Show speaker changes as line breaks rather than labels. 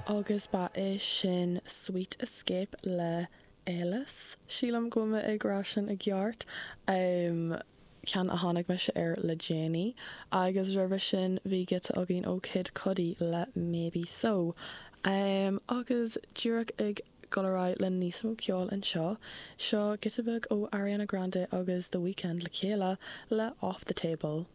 Agus ba é sin Sweet Escape le Elis. Sílim go bhfuil mé ag rá sin i gceart. Ceann a tháinig mise air le déanaí. Agus roimhe sin bhí giota againn ó Kid Cudi le Maybe So. Agus díreach ag dul ar aghaidh le níos mó ceoil anseo, seo giota beag ó Ariana Grande agus The Weeknd le chéile le Off The Table.